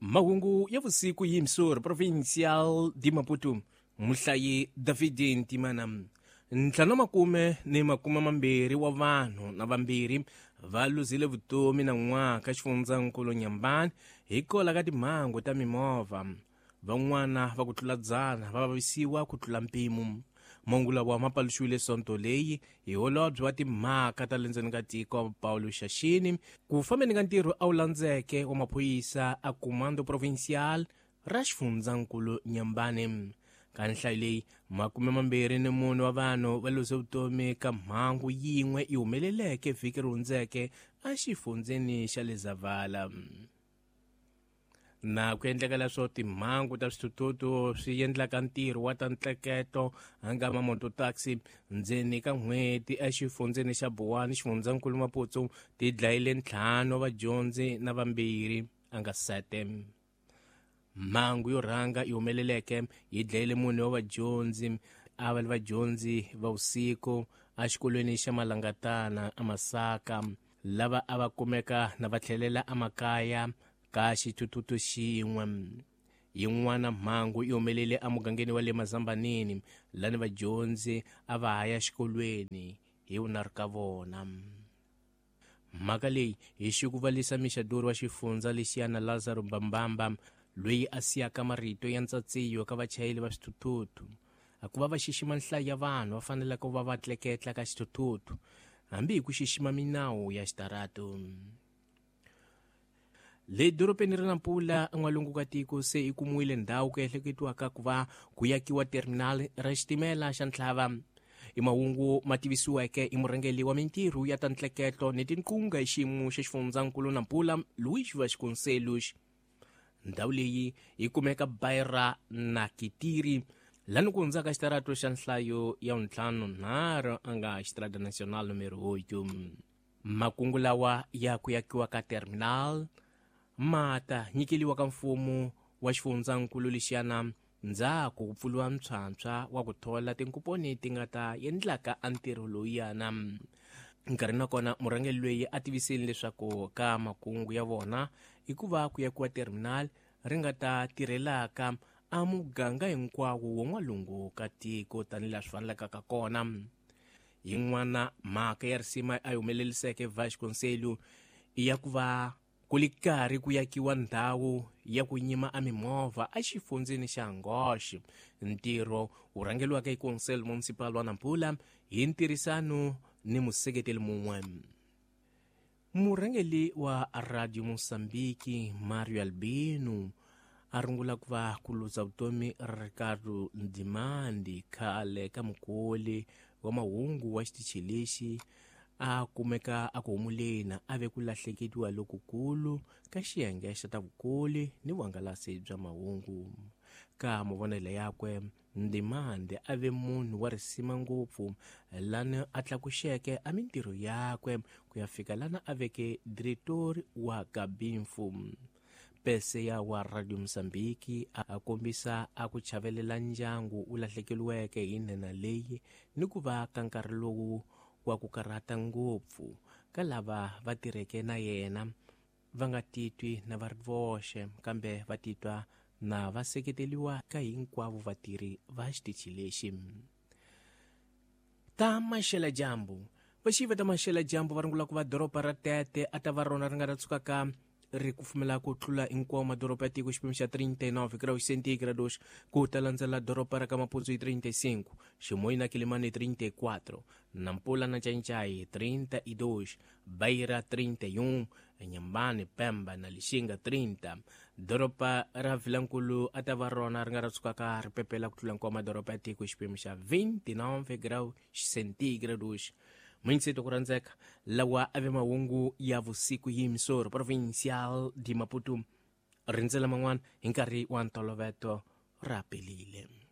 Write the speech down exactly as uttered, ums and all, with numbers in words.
Mahungu ya vusiku hi Missouri Provincial de Maputo muhlayi David Ntimana. Ntlhanu makume ni makume mambirhi wa vanhu na vambirhi va luzile vutomi na n'waka xifundzankulu Nyambani hikwalaho ka timhangu ta mimovha. Van'wana va ku tlula dzana va vavisiwa ku tlula mpimo. Mahungu lawa ma paluxiwile sonto leyi hi holobye wa timhaka ta le ndzeni ka tiko Paulo Xaxini ku fambeni ka ntirho a wu landzeke wa maphorisa a Comando Provincial ra xifundzankulu Nyambani. Ka nhlayo leyi makume mambirhi ni mune wa vanhu va luze vutomi ka mhangu yin'we yi humeleleke vhiki ri hundzeke exifundzeni xa le Zavala. Na ku endleka leswo timhangu ta swithuthuthu swi endlaka ntirho wa ta ntleketo nga mamototaxi ndzeni ka n'hweti exifundzeni xa Buwani xifundzankulu Maputo ti dlayile ntlhanu wa vadyondzi na vambirhi a nga sete. Mhangu yo rhanga yi humeleleke yi dlayile mune wa vadyondzi a va ri vadyondzi va vusiku exikolweni xa Malangatana eMasaka lava a va kumeka na va tlhelela emakaya ka xithuthuthu xin'we. Yin'wana mhangu yi humelele emugangeni wa le Mazambanini lani vadyondzi a va ha ya xikolweni hi vunharhu ka vona. Mhaka leyi hi xikuvalisa mixadori wa xifundza lexiyana Lazaro Bambamba loyi a siyaka marito ya ntsatsiyo ka vachayeri va swithuthuthu a ku va va xixima nhlayo ya vanhu va faneleke ku va va tleketla ka xithuthuthu hambi hi ku xixima minawu ya xitarato. Le dorobeni ra Nampula en'walungu ka tiko se yi kumiwile ndhawu ku ehleketiwaka ku va ku yakiwa terminal ra xitimela xa Ntlhava. I mahungu ma tivisiweke i murhangeri wa mintirho ya ta ntleketo ni tinqunga hi xiyimo xa xifundzankulu Nampula Luís Vasconcelos. Ndhawu leyi yi kumeka Beira na Kitiri lani ku hundzaka xitarato xa nhlayo ya ntlhanu nharhu a nga Estrada Nacional número oito. Makungu lawa ya ku yakiwa ka terminal ma ta nyikeliwa ka mfumo wa xifundzankulu lexiyana ndzhaku ku pfuriwa ntshwantshwa wa ku thola tinkuponi ti nga ta endlaka a ntirho lowuyana. Nkarhi nakona murhangeri loyi a tivisile leswaku ka makungu ya vona i ku va ku yakiwa terminal ri nga ta tirhelaka a muganga hinkwawo wa n'walungu ka tiko tanihilaha swi fanelaka ka kona. Yin'wana mhaka ya risima a yi humeleliseke Vasconcelos i ya ku va ku li karhi ku yakiwa ndhawu ya ku nyima a mimovha exifundzeni xa Angoche. Ntirho wu rhangeriwaka hi Conselho Municipal wa Nampula hi ntirhisano ni museketeli mun'we. Murhangeri wa Radio Mozambique Mario Albino a rungula ku va ku luza vutomi Ricardo Ndimandi khale ka mukoli wa mahungu wa xitichi lexi a kumeka a ku humuleni a ve ku lahlekeriwa lokukulu ka xiyenge xa ta vukoli ni vuhangalasi bya mahungu. Ka mavonelo yakwe Ndimande a ve munhu wa risima ngopfu lani a tlakuxeke a mintirho yakwe ku ya fika lana a veke diretori wa Kabinfu. Peseya wa Radio Mozambique a kombisa a ku chavelela ndyangu wu lahlekeriweke hi nhenha leyi ni ku va ka nkarhi lowu wa ku karhata ngopfu ka lava va tirheke na yena va nga titwi na va ri voxe kambe va titwa na va seketeriwa ka hinkwavo vatirhi va xitichi lexi. Ta maxela dyambu vaxiva ta maxela dyambu va rungula ku va doroba ra Tete a ta va rona ri nga ta tshukaka ri kufumela ku tlula hinkwawo madoroba ya tiko xipimo xa trinta e nove graus centígrados ku ta landzela doroba ra ka Maputo hi trinta e cinco, Chimoio na Quelimane hi trinta e quatro, Nampula na Xanxai trinta e dois, Beira trinta e um, Inhambane, Pemba na Lixinga trinta. Doroba ra Vilankulu a ta va rona ri nga ra tshukaka ri pepela ku tlula hinkwawo madoroba ya tiko xipimo xa vinte e nove graus centígrados. Muinseto ku rhandzeka lawa a ve mahungu ya vusiku hi Missouri Provincial de Maputo. Rindzela man'wana hi nkarhi wa ntoloveto ra pelile.